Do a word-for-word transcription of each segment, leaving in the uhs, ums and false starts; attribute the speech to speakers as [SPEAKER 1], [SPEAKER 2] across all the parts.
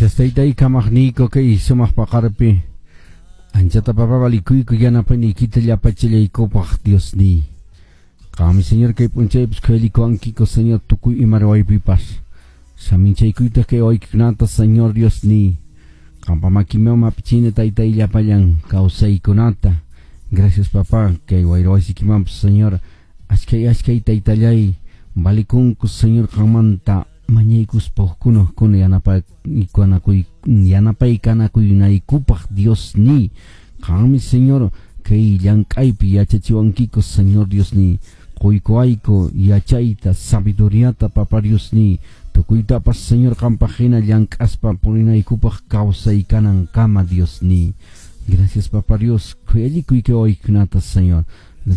[SPEAKER 1] Gracias, taytay kamaqniyku kay sumaq paqarpi. Anchata papa valikuyku yanapayniykita llapachillaykupaq Dios ni. Qami Señor kay p'unchaypis khuyalikuwankiko Señor tukuy ima ruwaypipas. Saminchaykuytaq kay waykikunata Señor Dios ni. Qampa makiman mapichini taytay llapallan kawsaykunata. Gracias papá kay wayrawasikimanpas Señor ashkay ashkay taytallay valikunku Señor qanmanta mañaykuspa hukkuna hukkuna yanapaykunakuy yanapaykanakuynaykupaq Dios ni. Qanmi Señor kay llank'aypi yachachiwankiko Señor Dios ni. Quykuwayku yachayta sabiduriata Papa Dios ni. Tukuytapas Señor qampaq hina llank'aspa purinaykupaq kawsaykanankama Dios ni. Gracias Papa Dios khuyallikuy kay waykunata Señor.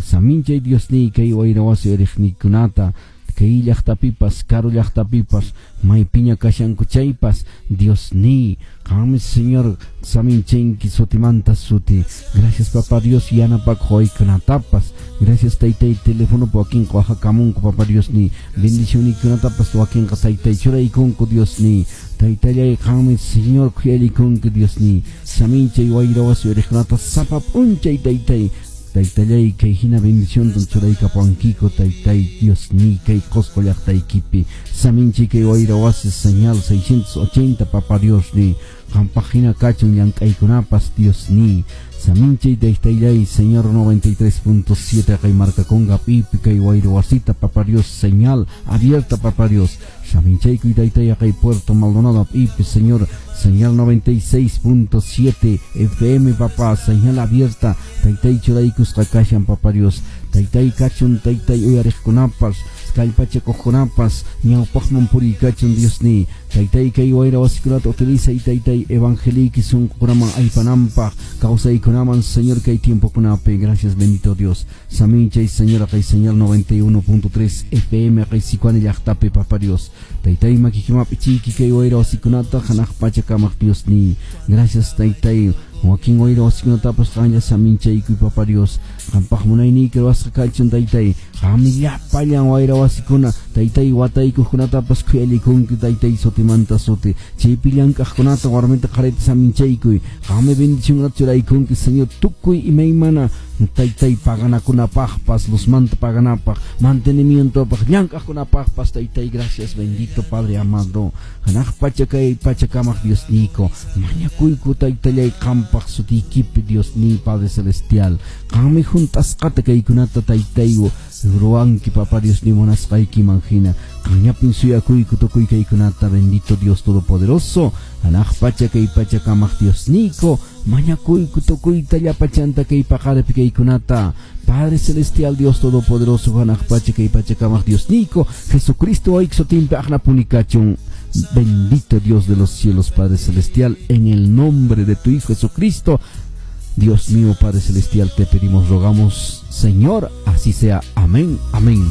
[SPEAKER 1] Saminchay Dios ni kay wayrawasi riqnikunata kay llaqtapipas karu llaqtapipas maypiña kashanku chaypas Dios ni qanmi Señor saminchanki sutimanta suti. Gracias Papa Dios yanapakuq waykunatapas. Gracias taytay teléfono wakinqa waqakamunku Papa Dios ni bendicionnikunatapas wakinqa taytay churaykunku Dios ni. Taytallay qanmi Señor khuyallikunki Dios ni. Saminchay wayrawasi riqkunata sapa p'unchay taytay. Taytallay kay hina bendición churaykapuwankiko taytay Dios ni kay Qosqo llaqtaykipi. Saminchay kay wayrawasi señal seiscientos ochenta Papa Dios ni. Qampaq hina kachun llank'aykunapas Dios ni. Saminchay taytallay Señor noventa y tres punto siete kay markakunqa pipi kay wayrawasita Papa Dios señal abierta Papa Dios. Saminchay taytay kay Puerto Maldonado pipi Señor señal noventa y seis punto siete F M Papá señal abierta taytay churaykusqa kashan Papa Dios. Taytay kachun taytay uyariqkunapas kallpachakuqkunapas ñawpaqman puriykachun Dios ni. Taytay kay wayrawasikunata utilizay taytay evangeliki sunqukunaman aypananpaq kawsaykunaman Señor kay tiempokunapi. Gracias bendito Dios. Saminchay Señor kay señal noventa y uno punto tres F M kay Sicuani llaqtapi Papa Dios. Taytay makikimapi chiki kay wayrawasikunata hanaq pachakamaq Dios ni. Gracias taytay wakin wayrawasikunatapas qanlla saminchaykuy Papa Dios. Qampaq munayniyki ruwasqa kachun taytay. Qanmi llapallan wayrawasikuna taytay wataykuqkunatapas khuyallikunki taytay sutimanta suti. Chaypi llank'aqkunata warmita qharita saminchaykuy. Qanmi bendicionkunata churaykunki Señor tukuy imaymana taytay paganakunapaqpas luzmanta paganapaq mantenimientopaq llank'aqkunapaqpas taytay. Gracias bendito Padre amado. Hanaq pacha kay pachakamaq Dios niyko mañakuyku taytallay qampaq sutiykipi Dios ni Padre celestial. Qanmi juntasqata kaykunata taytayku ruwanki Papa Dios ni munasqaykiman hina. Qanllapin suyakuyku tukuy kaykunata bendito Dios todopoderoso. Hanaq pacha kay pachakamaq Dios niyko mañakuyku tukuyta llapachanta kay paqaripi kaykunata. Padre celestial Dios todopoderoso hanaq pacha kay pachakamaq Dios niyko Jesucristo wayki sutinpi aqnapunikachun. Bendito Dios de los cielos Padre celestial, en el nombre de tu Hijo Jesucristo, Dios mío Padre celestial, te pedimos, rogamos, Señor, así sea. Amén, amén.